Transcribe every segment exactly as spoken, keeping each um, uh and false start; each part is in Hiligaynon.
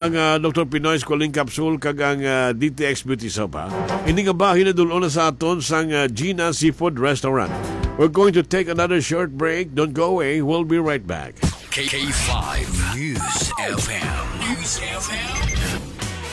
Ang, ah, Doktor Pinoy Squalene Capsule kag ang, ah, D T X Beauty Soap, ha? Ini nga bahin nadul-on na sa aton sang, ah, Gina Seafood Restaurant. We're going to take another short break. Don't go away. We'll be right back. K five News F M. News F M.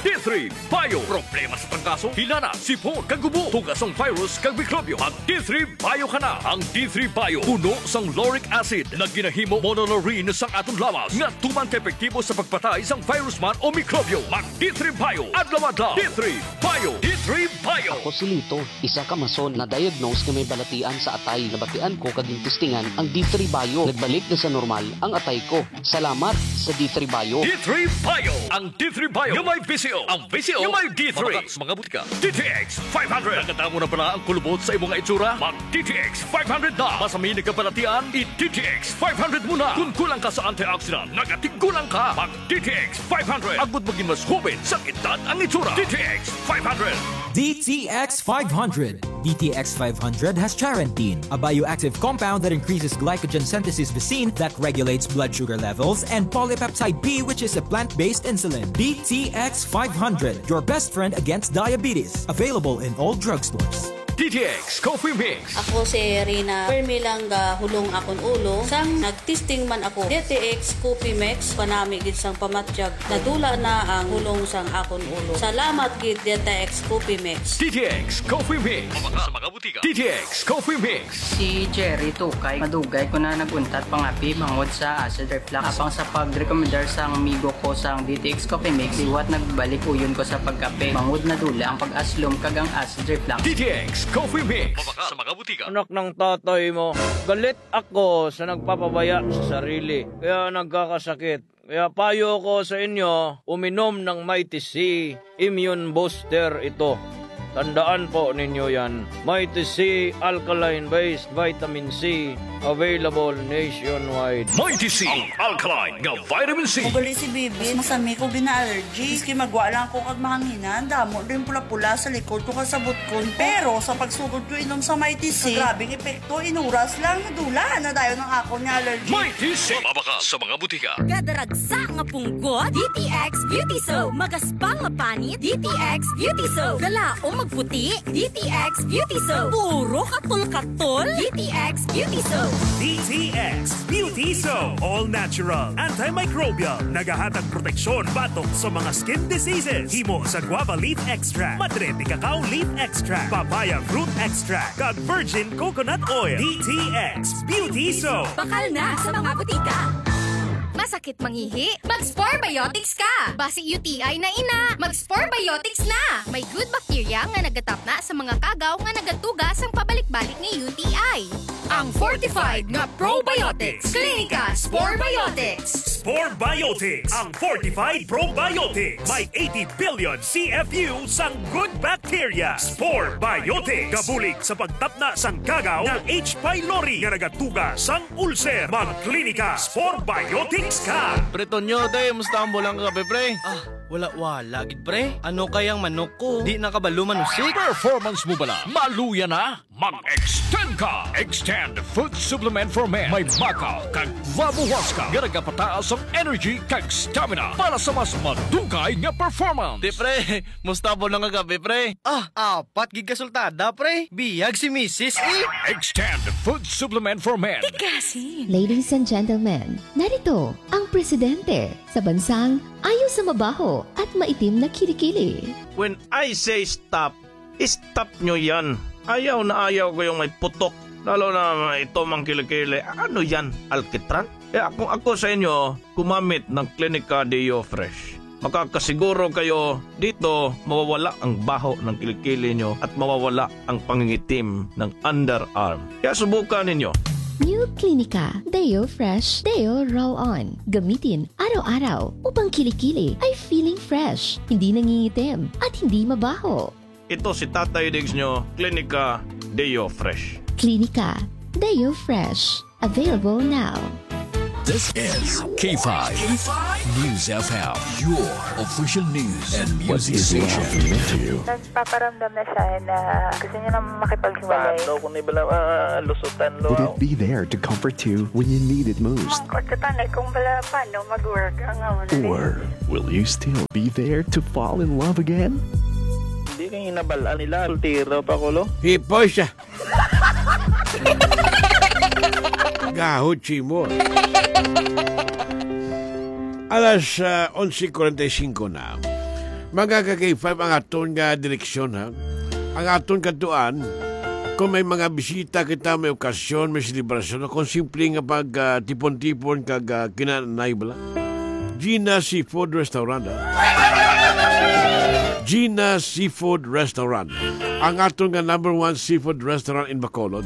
D three Bio. Problema sa trangkaso, hilanat, sipon, kag ubo, tugas sang virus kag mikrobyo. Mag D three Bio ka na. Ang D three Bio puno sang lauric acid nga ginahimo monolaurin sang aton lawas nga tuman ka epektibo sa pagpatay sang virus man o mikrobyo. Mag D three Bio adlaw-adlaw. D three Bio. D three Bio. Ako si Lito, isa ka mason na diagnose nga may balatian sa atay. Nabatian ko kag gintistingan ang D three Bio. Nagbalik na sa normal ang atay ko. Salamat sa D three Bio. D three Bio. Ang D three Bio nga may V C O. Ang V C O nga may D three. Mabakat sa mga butika. D T X five hundred. Nakadamo na bala ang kulubot sa imo nga itsura? Mag D T X five hundred na. Masami nagkabalatian, i D T X five hundred mo na. Kung kulang ka sa antioxidant, nagatigulang ka. Mag D T X five hundred. Agud maging mas hoben sa edad ang itsura. D T X five hundred. D T X five hundred. D T X five hundred has charantine, a bioactive compound that increases glycogen synthesis visin that regulates blood sugar levels, and polypeptide B, which is a plant-based insulin. D T X five hundred, your best friend against diabetes. Available in all drugstores. D T X Coffee Mix. Ako si Rina. Permi lang gahulong akon ulo. Sang nagtesting man ako, D T X Coffee Mix, panami gid sang pamatyag. Nadula na ang hulong sang akon ulo. Salamat gid, D T X Coffee Mix. D T X Coffee Mix. Mabaka sa mga butika. D T X Coffee Mix. Si Jerry Tukay, madugay ko na nag-untat pangapi bangod sa acid reflux. Apang sa pagrekomendar sang amigo ko sang D T X Coffee Mix, liwat nagbalik uyon ko sa pagkape. Bangod nadula ang pag-aslom kag ang acid reflux. D T X Coffee Mix. Mabaka sa mga butika. Anak ng tatay mo, galit ako sa nagpapabaya sa sarili, kaya nagkakasakit. Kaya payo ko sa inyo, uminom ng Mighty C Immune Booster ito. Tandaan po ninyo yan. Mighty C Alkaline Based Vitamin C, available nationwide. Mighty C, ang alkaline nga vitamin C. Ugali si Bibi, masami ko gina-allergy. Maski magwa lang ako kag mahanginan, damo din pula-pula sa likod ko kag sa butkon ko. Pero sa pagsugod ko inom sa Mighty C, grabe ang epekto. Inuras lang, nadula na dayon ang akon nga allergy. Mighty C. Mabaka sa mga butika. Kadaragsa nga punggot, D T X Beauty Soap. Magaspang nga panit, D T X Beauty Soap. Galaom magputi, D T X Beauty Soap. Puro katol-katol, D T X Beauty Soap. D T X Beauty Soap. All natural, antimicrobial. Nagahatag proteksyon batok sa mga skin diseases. Himo sa guava leaf extract, madre de cacao leaf extract, papaya fruit extract, kag virgin coconut oil. D T X Beauty Soap. Bakal na sa mga butika. Masakit mangihi? Mag-Spore Biotics ka! Basi U T I na ina, mag-Spore Biotics na! May good bacteria nga nagatapna sa mga kagaw nga nagatuga sang pabalik-balik nga U T I. Ang fortified nga probiotics. Clinica Spore Biotics. Spore Biotics, ang fortified probiotics. May eighty billion C F U sang good bacteria. Spore Biotics. Gabulig sa pagtapna sang kagaw nga H. pylori nga nagatuga sang ulcer. Mag-Klinika Spore Biotics ka. Pre Tonyo, day, musta ang bulang kagabi, pre? Ah, wala-wala gid, pre. Ano kayang manok ko? Di na kabalo manusik. Performance mo bala? Maluya na? Mag-extend ka! Extend Food Supplement for Men. May maca kag guava huasca nga nagapataas ang energy kag stamina para sa mas madugay nga performance. Di, pre, musta ang bulang kagabi, pre? Ah, apat gid ka sultada, pre. Biyag si misis, eh. Extend Food Supplement for Men. Tikasin. Ladies and gentlemen, narito ang presidente sa bansang ayaw sa mabaho at maitim na kilikili. When I say stop, stop nyo yan. Ayaw na ayaw ko yung may putok. Lalo na ito mang kilikili. Ano yan? Alkitran? Kaya kung ako sa inyo, gumamit ng Klinika Deo Fresh. Makakasiguro kayo dito mawawala ang baho ng kilikili nyo at mawawala ang pangingitim ng underarm. Kaya subukan ninyo. New Klinika Deo Fresh Deo Roll On. Gamitin araw-araw upang kilikili ay feeling fresh, hindi nangingitim, at hindi mabaho. Ito si Tatay Diggs nyo, Klinika Deo Fresh. Klinika Deo Fresh. Available now. This is K five News F M, your official news and music station. Nagpaparamdam na siya na gusto niya na makipaghiwalay. Paano kung ibala, ah, lusutan lo? Will it be there to comfort you when you need it most? Mangkot ka tanay kung bala paano mag-work ang amo na ni. Or will you still be there to fall in love again? Hindi kay hinabal-an nila, soltero pa ko, lo. Hipoy siya. Gahod, Chimo. Alas, ah, onse kuwarenta y singko na. Mga ka-K five, ang aton nga direksyon, ha? Ang aton kadtuan, kung may mga bisita kita, may okasyon, may selebrasyon, o kung simple nga pag, ah, tipon-tipon kag, ah, kinanay bala. Gina Seafood Restaurant, ah. Gina Seafood Restaurant, ang aton nga number one seafood restaurant in Bacolod.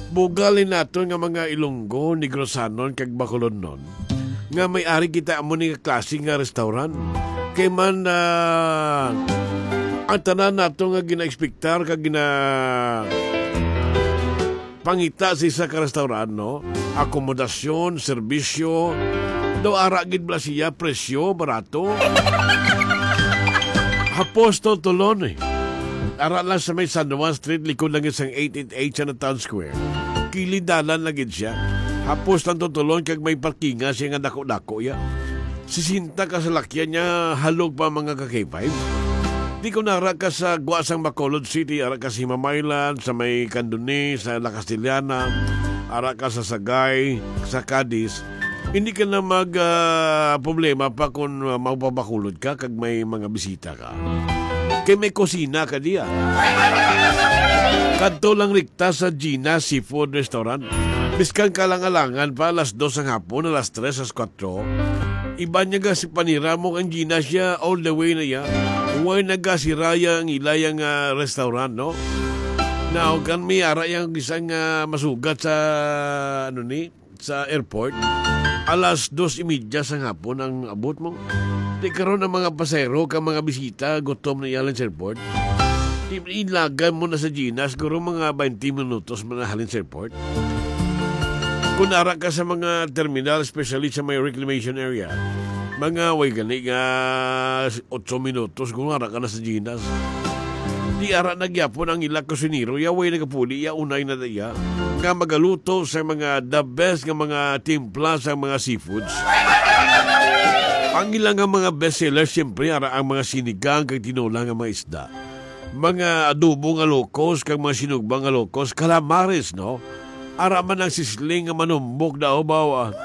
Bugal ni naton nga mga Ilonggo, Negrosanon, kag Bacolodnon nga may ari kita amo ni nga klase nga restaurant. Kay man, ah, ang tanan nato nga gina-expectar kag gina-, pangita sa isa ka restaurant, no? Akomodasyon, serbisyo, daw ara gid bala siya, presyo, barato. Hapos to tulon, eh. Ara lang sa may San Juan Street, likod lang sa eight eight eight sa Town Square. Kilid dalan lang gid siya. Hapos lang to tulon kag may parkingan siya nga dako-dako ya. Sisenta ka salakyan niya, halog pa, mga ka-K five. Di ko na ara ka sa gwa sang Bacolod City, ara ka sa Himamaylan, sa may Candoni, sa La Castellana, ara ka sa Sagay, sa Cadiz. Hindi ka na mag, ah, problema pa kung, ah, magpabakulod ka kag may mga bisita ka. Kay may kusina ka diya. Kadto lang rikta sa Gina Seafood Restaurant. Biskan kalang-alangan pa, alas dos ang hapon, alas tres, alas kwatro. Iban niya ga si panira mo ang Gina siya all the way na iya. Way nagasiraya ang ilaya nga restaurant, no? Now, kan may ara yang isang, ah, masugat sa, ano ni, sa airport, alas dos y media sang hapon ang abot mo. Di karon ang mga pasahero kag mga bisita gutom na ihalin sa airport. Di, ilagan mo na sa Gina, siguro mga twenty minutos man na halin sa airport. Kung ara ka sa mga terminal, especially sa may reclamation area, mga way gani nga otso minutos kung ara ka na sa Gina. Di ara na gyapon ang ila kusinero, ya way nagapuli, ya unay na iya nga magaluto sa mga the best nga mga timpla sa mga seafoods. Ang ila nga mga best seller, siyempre, ara ang mga sinigang kag tinola nga mga isda. Mga adobo nga locos kag mga sinugba nga locos, calamares, no? Ara man ang sisling nga manumbok daw, bawa.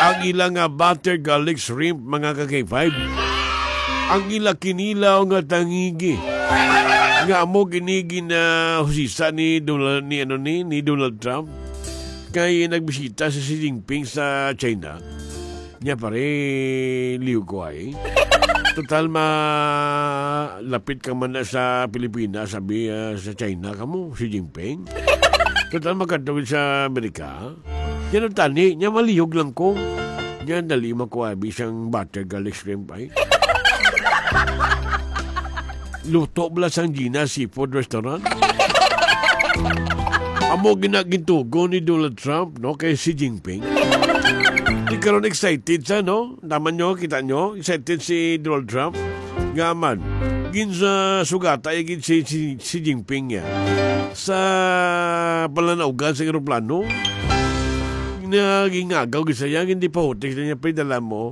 Ang ila nga butter garlic shrimp, mga ka-K five. Ang ila kinilaw nga tangigi. Nga amo gini ginahusisa ni Donald, ni, ano, ni, ni Donald Trump. Kay nagbisita si Xi Jinping sa China. Nya, pare, liw ko ay. Total, ma-, lapit ka man na sa Pilipinas, sabi, ah, sa China kamo, Xi Jinping. Total, magkadto sa Amerika. Yan ang tani, nya maliyog lang ko. Nya, dali makuha, abi, sang butter garlic shrimp ay. Luto bala sang Gina Seafood Restaurant. Amo gina gintugon ni Donald Trump, no, kay Xi Jinping. Di karon excited siya, no? Naman nyo, kita nyo, excited si Donald Trump. Nga man, gin sa sugata, ya gid si, si, Xi Jinping niya. Sa palanawgan sa eroplano, nagingagaw gid siya, hindi pa hutik na niya, "Pre, dala mo."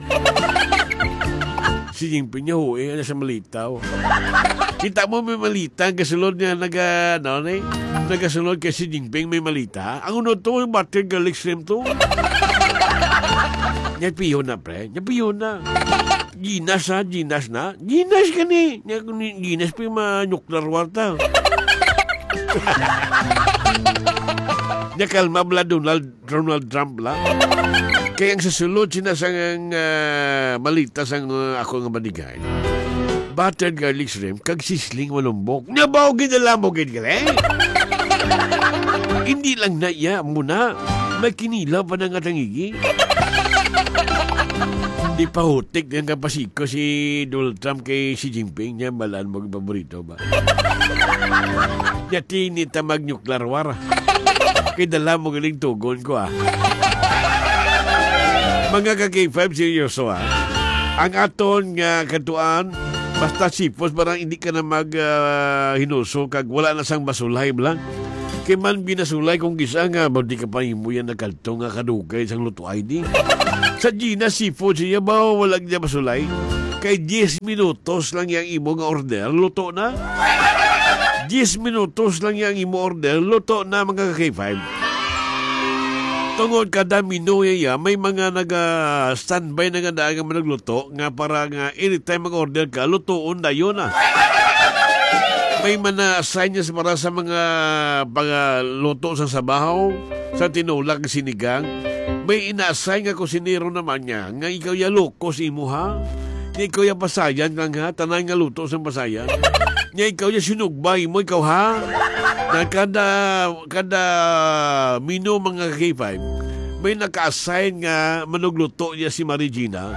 Xi Jinping niya, "Hui, ano sa malita, oh." Kita mo, may malita, ang gasulod niya, naga, ano, ni? Nagasulod kay Xi Jinping, may malita. Ang uno to, butter garlic shrimp to. Niya piyo na, pre. Niya piyo na. Ginas na, ginas na. Ginas ka ni. Niya, ni-, ginas pa yung mga nuclear war ta. Niya kalma bala Donald, Donald Trump bala. Kaya ang sasulod sina sang, ah, malita sang, ah, ako nga madigay. Buttered garlic shrimp, kag sisling manumbok. Niya ba, gidala mo, gid gali? Hindi lang na iya, muna. May kinilaw pa na nga tangigi. Di pa hutik nga kapasiko si Donald Trump kay Xi Jinping niya, balaan mo ang paborito ba? Yati ni ta mag-nuclear war. Kay dala mo galing tugon ko, ah. Mga ka-K five, seryoso, ha. Ang aton nga katuan, basta sipos, parang hindi ka na mag, ah, hinuso kag wala na sang masulay, bala. Kay man binasulay kung kisa nga, ba, di ka pa himo yan nagkadto nga kadugay sang luto I D. Sa Gina Seafood, siya ba, wala niya masulay? Kay diyes minutos lang yang imo nga order, luto na. Diyes minutos lang yang imo order, luto na, mga ka-K five. Tungod kada minuya, may mga naga-standby na nga daan nga manugluto nga para nga anytime mag-order ka, lutuon dayon na. May man na-assign niya sa, para sa mga pagaluto sa sabaw, sa tinula kag sinigang. May ina-assign nga kusinero naman niya nga ikaw ya loko sa imo, ha? Nga ikaw ya pasayan lang, ha? Tanan nga luto sang pasayan. Nga ikaw ya sinugba imo, ikaw, ha? Na kada, kada menu, mga ka-K five, may naka-assign nga manugluto niya si Marie Gina.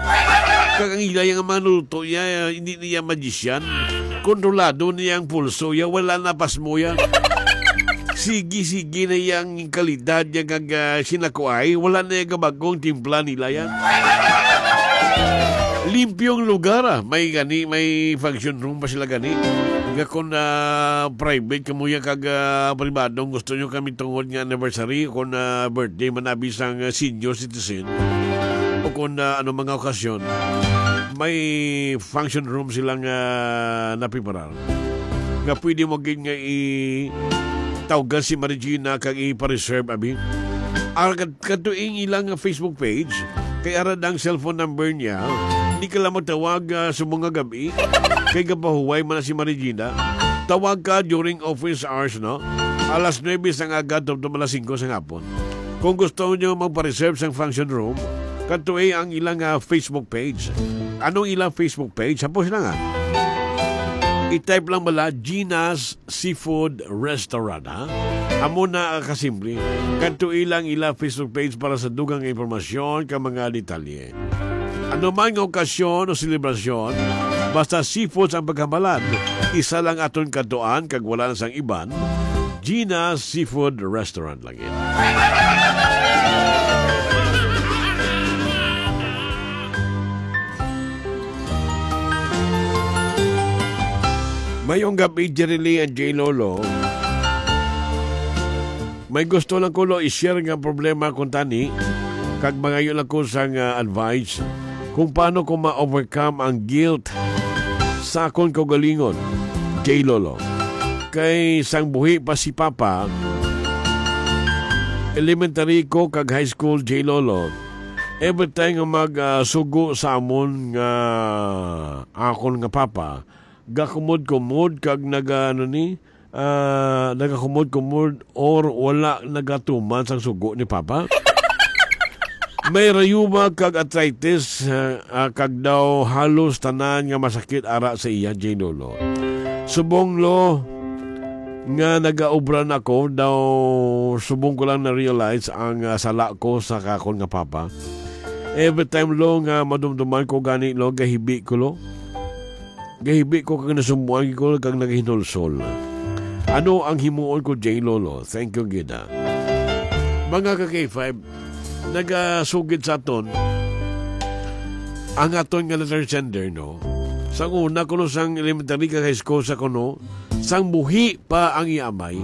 Kag ang ila yang manugluto niya, hindi niya magician. Kontrolado niya ang pulso niya, wala na pasmo niya. Sige, sige na yang kalidad niya kag, ah, sinakuay, wala na yang kabagong timpla nila yan. Limpyong lugar, ah. May gani, may function room pa sila gani. Nga kung, ah, private kamo ya kag, ah, pribadong gusto nyo kami tungod nga anniversary, kung, ah, birthday man abi sang, ah, senior citizen, o kung, ah, ano mga okasyon, may function room silang, ah, napiparar. Nga pwede mo gid nga i-, tawgan si Marie Gina kag ipa-reserve, abi. Ara kad-, kadto ing ilang Facebook page, kay ara ang cellphone number niya. Hindi ka lang magtawag, ah, subong nga gabi, kay gapahuway man na si Marie Gina. Tawag ka during office hours, no? Alas nuebe sang aga, tubtob alas singko sang hapon. Kung gusto niyo magpa-reserve sang function room, kadto ang ilang, ah, Facebook page. Anong ilang Facebook page? Hapos lang, ah. I-type lang bala, Gina's Seafood Restaurant, ha? Amo na, ah, kasimple. Kadto ilang ila Facebook page para sa dugang nga impormasyon kag mga detalye. Ano man nga okasyon o selebrasyon, basta seafood ang pagkabalan, isa lang aton kadtuan kag wala na sang iban, Gina's Seafood Restaurant lagi. Mayong gabi, Jerry Lee and J Lolo. May gusto lang ko, lo, i-share nga problema kuntani, kag mangayo lang ko sang, ah, advice kung paano ko ma-overcome ang guilt sa akon kaugalingon, J Lolo. Kay sang buhi pa si Papa, elementary ko kag high school, J Lolo, every time nga mag, ah, sugo sa amon nga akon nga papa, gakumod-kumod kag naga, ano ni, ah, nagakumod-kumod or wala nagatuman sang sugo ni Papa. May rayuma kag arthritis, ah, ah, kag daw halos tanan nga masakit ara sa iya, J Lolo. Subong, lo, nga nagaobra na ako, daw subong ko lang na-realize ang, ah, sala ko sa akon nga papa. Every time, lo, nga madumduman ko gani, lo, gahibi ko, lo. Gahibi ko kag nasumbuan ko kag naghinulsol. Ano ang himuon ko, J Lolo? Thank you, gid, ha. Mga ka-K five, nagasugid sa aton ang aton nga letter sender, no? Sang una kuno, sang elementary kag high school sa kuno, sang buhi pa ang iya amay.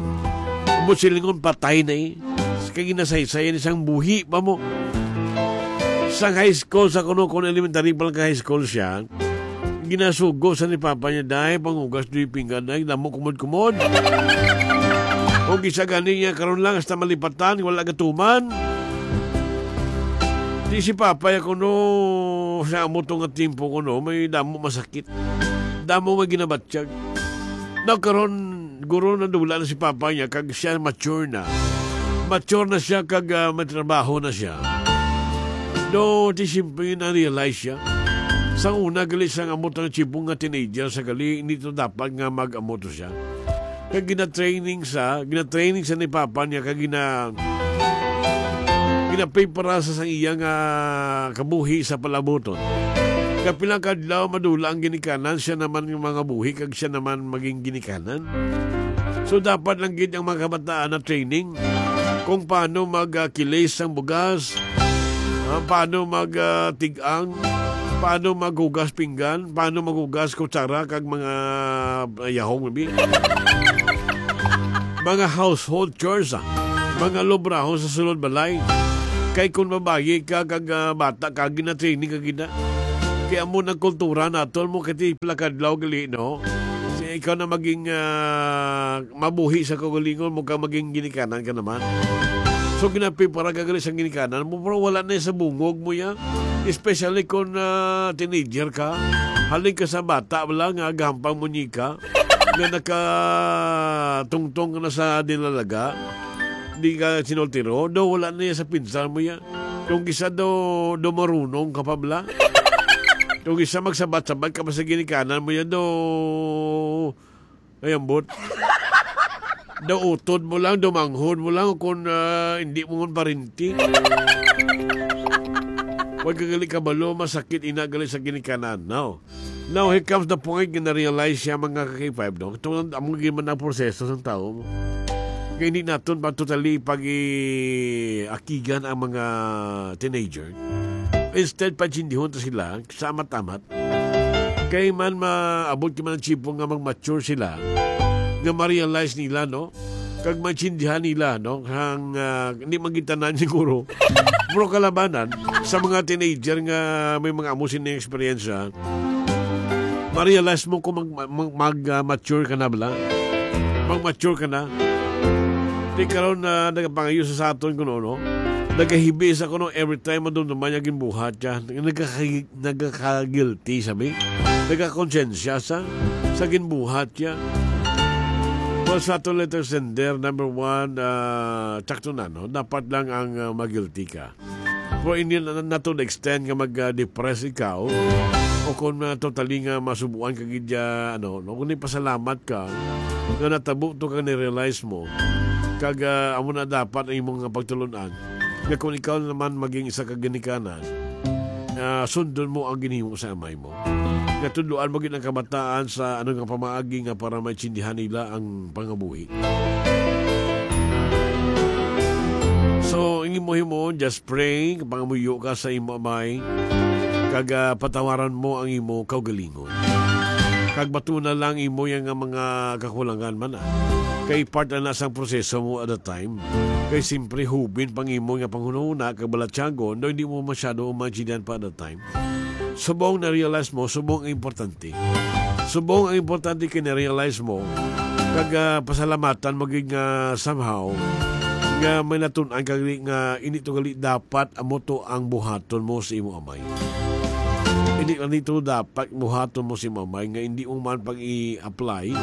Umot silingon, patay na, eh. Kay ginasaysay ni sang buhi pa mo. Sang high school sa kuno, kung elementary pa lang ka high school siya, ginasugo sa ni papa niya, "Day, panghugas doy pinggan, day, damo kumod-kumod." O kisa gani niya, karon lang, hasta malipatan, wala gatuman. Di si papa ya kuno, sa amo to nga timpo kuno, may damo masakit. Damo may ginabatyag. Now, karon, guro, nadula na si papa niya, kag siya mature na. Mature na siya, kag, ah, may trabaho na siya. No, di siyempre na-realize siya. Sa una, gali, sang amo to nga chibong nga teenager sa gali, hindi to dapat nga mag-amo to siya. Kag gina-training sa, gina-training sa ni papa niya, kag gina-, ginaprepara sa sang iya nga kabuhi sa palabuton. Kapila ka adlaw, madula ang ginikanan, siya naman yung mga buhi, kag siya naman maging ginikanan. So, dapat lang gid ang mga kabataan na training kung paano mag, ah, kilis ang bugas, Ah, paano mag, ah, tig-ang? Paano maghugas pinggan? Paano maghugas kutsara kag mga, ah, yahong, maybe? Mga household chores, ah. Mga lubrahon sa sulod balay. Kay kung babayi ka kag, ah, bata ka, gina-training ka gina. Kay amo nang kultura naton mo, kay pila ka adlaw gali, no? Si ikaw na maging, ah, mabuhi sa kaugalingon mo, ka maging ginikanan ka naman. So, ginaprepara ka gali sa ginikanan mo, pero wala na sa bungog mo ya. Especially kung, ah, teenager ka. Halin ka sa bata, wala nga gampang munyika. Nga nakatungtong ka na sa dinalaga. Di ka sinultiro, do wala na ya sa pinsan mo ya. Kung isa do, do marunong ka pa bala. Kung isa magsabat-sabat ka pa sa ginikanan mo ya, do, ay, ambot. Do utod mo lang, do manghod mo lang, kung, ah, hindi mo man parinti. Huwag ka gali kabalo, masakit ina gali sa ginikanan. Now, now, here comes the point nga na-realize siya, mga ka-K five, no? Ito ang among gid man ang proseso sang tao. Kaya hindi naton pa totally pag-i-akigan ang mga teenager. Instead, paintindihon to sila, sa amat-amat. Kay man maabot kay man ang tiyempo nga mag-mature sila, nga ma-realize nila, no? Kag maintindihan nila, no? Ang, ah, hindi man gid tanan siguro. Pero kalabanan, sa mga teenager nga may mga amo sini nga eksperyensya, ma-realize mo kung mag, mag, mag, ah, mature ka na bala. Mag-mature ka na. Di karon na nagapangayo sa, sa aton kuno, no? Nagahibi sa kuno every time madumduman niya ginbuhat niya. Nagkakay-, nagkaka-guilty, sabi. Nagkakonsensya sa, sa ginbuhat niya. Well, sa aton letter sender, number one, ah, tsakto na, no? Dapat lang ang, ah, ma-guilty ka. Pero hindi na, na to the extent nga mag, ah, depress ikaw o kung, ah, totally nga masubuan ka gid ya, ano, no? Kung pasalamat ka nga natabo to kag na-realize mo, kag, ah, amo na dapat ang imong nga pagtulon-an, nga kung ikaw naman maging isa ka ginikanan, ah, sundon mo ang ginhimo sa amay mo. Nga tudloan mo gid ang kabataan sa ano nga pamaagi nga para maintindihan nila ang pangabuhi. So, ang imo himo, just pray, pangamuyo ka sa imo amay, kag, ah, patawaran mo ang imo kaugalingon. Kag batuna lang imo yang nga mga kakulangan man, ah. Kay part na sang proseso mo at the time. Kay simpre hubin pang imo nga panghunahuna kag balatyagon, daw hindi mo masyado maintindihan pa at the time. Subong na-realize mo, subong ang importante. Subong ang importante kay na-realize mo, kag, ah, pasalamatan mo gid nga somehow, nga may natun-an ka gali nga ini to gali dapat amo to ang buhaton mo sa imo amay. Hindi lang dito dapat buhaton mo sa imo amay nga hindi mo man pag-i-apply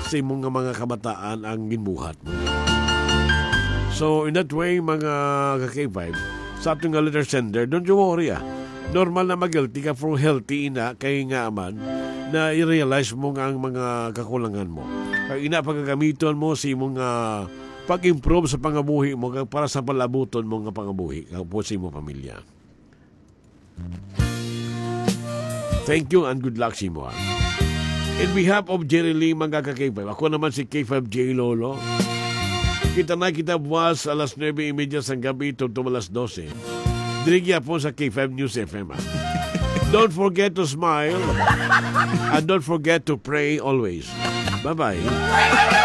sa imo nga mga kabataan ang ginbuhat mo. So, in that way, mga ka-K five, sa aton nga letter sender, don't you worry, ah. Normal na mag-guilty ka, pero healthy ina kay nga man na i-realize mo nga ang mga kakulangan mo. Kag ina pagagamiton mo sa imong, ah, pag-improve sa pangabuhi mo kag para sa palabuton mo nga pangabuhi kag po sa imong pamilya. Thank you and good luck sa imo, ah. In behalf of Jerry Lee, mga ka-K five, ako naman si K five J Lolo. Kita na kita buwas alas nuebe y media sang gabi, tubtob alas dose. Diri gyapon sa K five News F M, ah. Don't forget to smile and don't forget to pray always. Bye-bye.